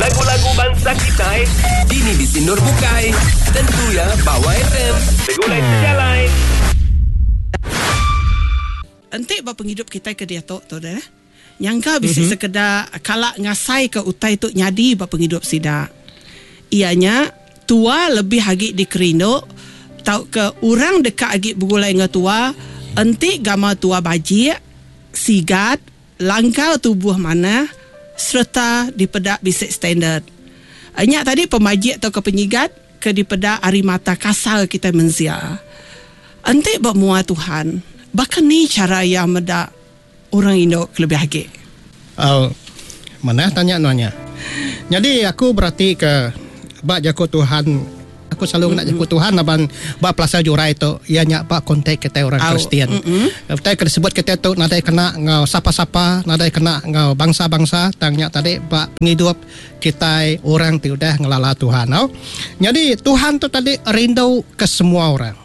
Lagu-lagu bansa kitai. Dini bisi endur bukai. Tentu iya ba YFM. Begulai sejalai. Enti ba pengidup kitai ke diatu tu deh, nyangka bisi sekeda kala ngasaika utai tu nyadi ba pengidup sida. Iya nya, tua lebih agi dikerindu tauka orang deka agi begulai enggau tua enti gamal tua bajik, sigat, Langkar tubuh manah sereta dipeda bisi standard. Nya tadi pemajik tauka penyigat ke dipeda ari mata kasar kitai mensia. Enti ba mua Tuhan, baka ni chara Iya meda orang indu kelebih agi? Au, manah tanya nuan nya. Nyadi aku beratika ba jaku Tuhan. Aku selalu ngena jaku Tuhan laban ba pelasar jurai tu iya nya ba kontak kitai orang Kristian. Utai ke disebut kitai tu nadai kena enggau sapa-sapa, nadai kena enggau bangsa-bangsa tang nya tadi ba pengidup kitai orang ti udah ngelala Tuhan. Au. Nyadi Tuhan tu tadi rindu ke semua orang.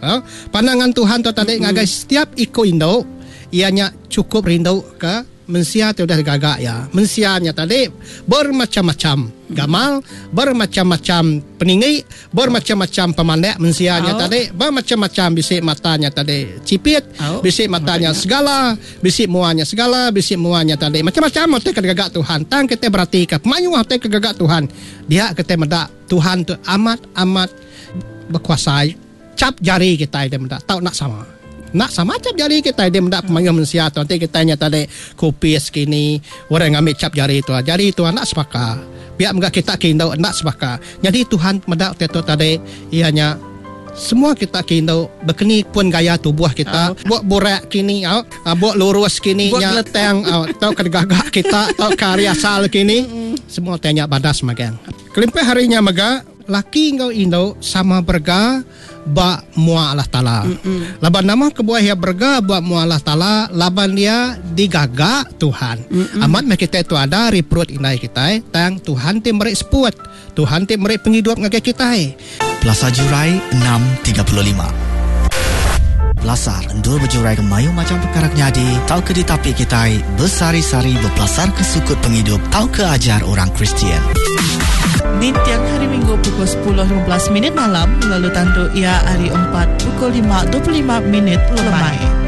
Au. Pandangan Tuhan tu tadi ngagai setiap iku indu iya nya chukup rindu ke Mensia ti udah digaga iya. Mensia nya tadi bermacham-macham gamal, bermacham-macham peninggi, bermacham-macham pemandak mensia nya tadi, bermacham-macham bisi mata nya tadi chipit, bisi mata nya segala, bisi mua nya segala, bisi mua nya tadi macham-macham utai ke digaga Tuhan. Tang kitai beratika pemayuh utai ke digaga Tuhan, dia kitai meda Tuhan tu amat-amat bekuasa. Chap jari kitai deh meda tau enda sama. Enda sama chap jari kitai deh meda pemayuh mensia tu enti kitai nya tadi kupis kini orang ngambi chap jari tu jari tu enda sebaka. Pia mega kita ke indu enda sebaka. Nyadi Tuhan meda utai tu tadi iya nya semua kita ke indu bekeni pun gaya tubuh kita buk burak kini au buk lurus kini nya tang au tauka digaga kita tauka ari asal kini semua utai nya badas magang. Kelimpah ari nya mega Laki enggau indu sama berega ba mua Allah Taala. Laban nama kebuah iya berega ba mua Allah Taala? Laban iya digaga Tuhan. Amat meh kitai tu ada ari perut indai kitai, tang Tuhan ti meri seput. Tuhan ti meri pengidup ngagai kitai. Pelasar Jurai 6:35. Pelasar endur bejuraika mayuh macham pekara ke nyadi tauka ditapi kitai besehari-sehari bepelasarka sukut pengidup tauka ajar orang Kristian. Ninting Hari Minggu pukul 10:15 minit malam lalu tandu iya hari Empat pukul 5:25 minit lemai.